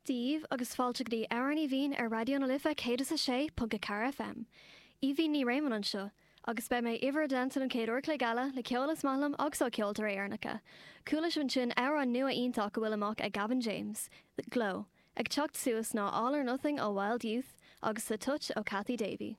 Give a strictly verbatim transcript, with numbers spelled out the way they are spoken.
Daoibh agus fáilte go dtí Amhrán Aoibhinn ar Raidió na Life céad is a sé ponc a ceathair FM. Aoibhinn Ní Réamonn anseo, agus beidh mé i bhur dteannta an chéad uair an chloig eile le ceol is maith liom agus ó cheoltóirí Éireannacha. Chuala sibh ansin amhrán nua iontach go bhfuil amach ag Gavin James, The Glow, ag teacht suas ná All or Nothing ó Wild Youth agus The Touch ó Cathy Davey.